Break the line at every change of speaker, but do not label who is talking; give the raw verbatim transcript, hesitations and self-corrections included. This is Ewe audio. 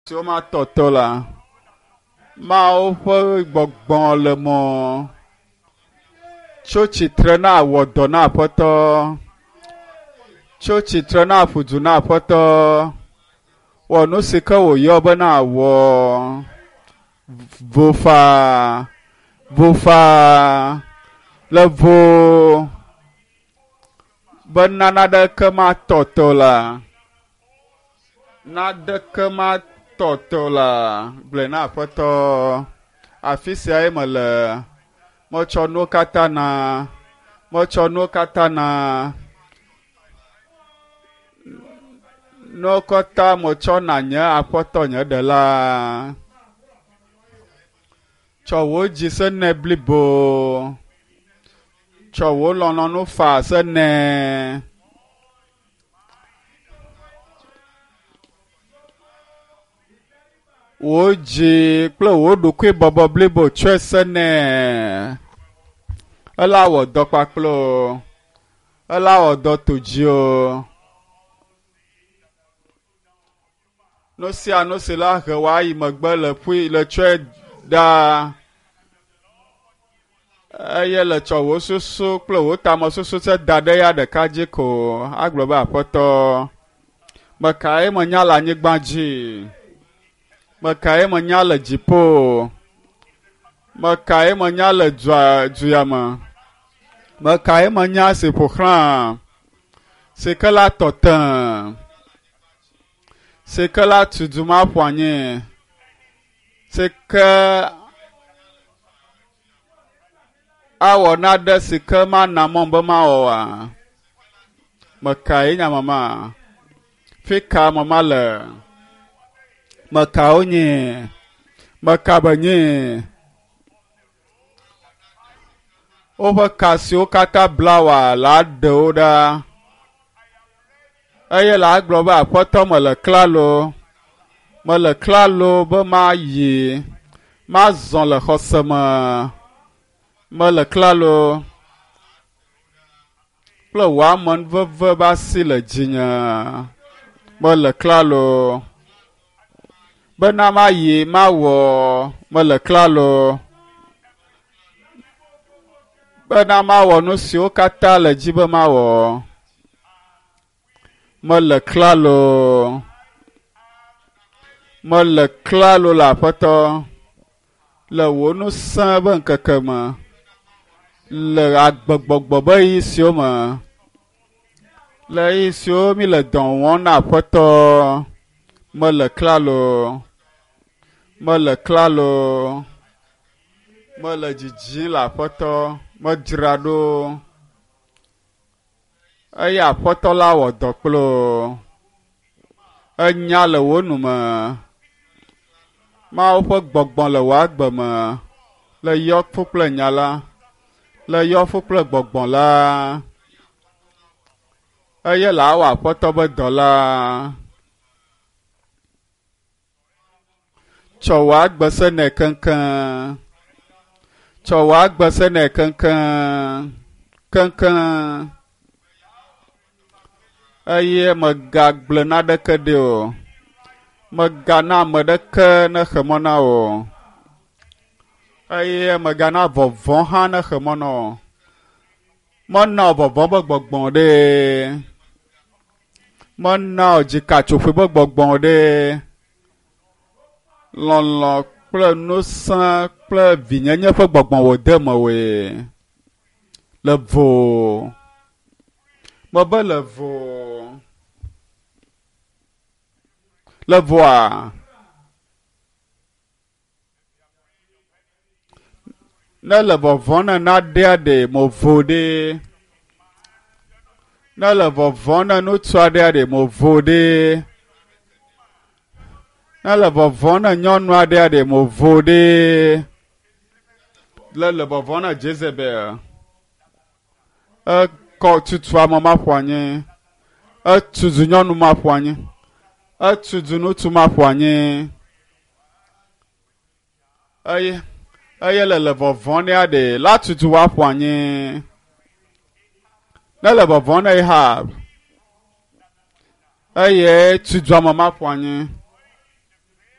Siwo matɔtɔ la, Mawu ƒe gbɔgbɔ le mɔ. Tso tsitre na wɔ dɔ na Aƒetɔ. Tso tsitre na ƒu du na Aƒetɔ. Wɔ nu si ke wòyɔ be na wɔ. Vo faa, vo faa, le vo be naneke matɔtɔ la. Naneke matɔtɔ la. Gblɔe na Aƒetɔ. Afi siae mele. Metsɔ nuwo katã na. Metsɔ nuwo katã na. Nuwo katã metsɔ na nye Aƒetɔ nye Ɖela. Tsɔ wò dzi se nɛ blibo. Tsɔ wò lɔlɔ̃nu faa se nɛ. Wò dzi kple wò ɖokuibɔbɔ blibo tsɔe se nɛ. Ela wɔ dɔ kpakple wò. Ela wɔ dɔ to dziwò. Nu sia nu si la he wò ayi megbe le ƒui le tsɔe ɖa. Eye le tsɔ wò susu kple wò tamesusu se da ɖe ya ɖeka dzi ko agblɔ be Aƒetɔ, mekae menya le anyigba dzi? Mekae menya le dziƒo? Mekae menya le dua, du ya me? Mekae menya si ƒo xlã? Si ke la tɔ te. Si ke la tu du ma ƒo anyi. Si ke awɔ naɖe si ke mana mɔm be mawɔ oa? Mekae nye mama? Fi ka mama le? Mekawo nye? Meka be nye? Woƒe ka siwo katã bla wòa la ɖe wo ɖa. Eye la gblɔ be Aƒetɔ mele klalo. Mele klalo be mayi. Mazɔ le xɔse me. Mele klalo. Kple wò amenuveve be asi le dzinye. Mele klalo. Bena mayi mawɔ. Mele klalo. Bena mawɔ nu siwo katã le dzi be mawɔ. Mele klalo. Mele klalo le Aƒetɔ. Le wò ŋusẽ be ŋkeke me. Le agbegbɔgbɔ be ɣeyiɣi siwo me. Le ɣeyiɣi siwo mi le dɔ wɔm na Aƒetɔ. Mele klalo. Mele klalo. Mele dzidzim le Aƒetɔ. Medzra ɖo. Eye Aƒetɔ la wɔ dɔ kple wò. Enya le wò nu me. Mawu ƒe gbɔgbɔ le wò agbe me. Le yɔ fu kple nya la. Le yɔ fu kple gbɔgbɔ la. Eye le awɔ Aƒetɔ be dɔ la. Tsɔ wò agbe se nɛ keŋkeŋ. Tsɔ wò agbe se nɛ keŋkeŋ. Keŋkeŋ. Eye megagblẽ naneke ɖi o. Megana ame ɖeke nexe mɔ na wò. Eye megana vɔvɔ̃ hã nexe mɔ na wò. Mena wò vɔvɔ̃ be gbɔgbɔ ɖe. Mena wò dzikatsoƒoe be gbɔgbɔ ɖe. Lɔlɔ̃ kple ŋusẽ kple vinyenye ƒe gbɔgbɔ wòde mewòe. Le vo. Mebe le vo. Le voa. Ne le vɔvɔ̃ ne naɖea ɖe mo vo ɖe. Ne le vɔvɔ̃ ne ŋutsu aɖea ɖe mo vo ɖe. Ne le vɔvɔ̃ ne nyɔnu aɖea ɖe mo vo ɖe. Le le vɔvɔ̃ ne Jezebel. Ekɔ tutu ame ma ƒo anyi. Etutu nyɔnu ma ƒo anyi. Etutu ŋutsu ma ƒo anyi. Eye eye le le vɔvɔ̃ nea ɖe la tutu wa ƒo anyi. Ne le vɔvɔ̃ ne Ahab. Eye tutu ame ma ƒo anyi.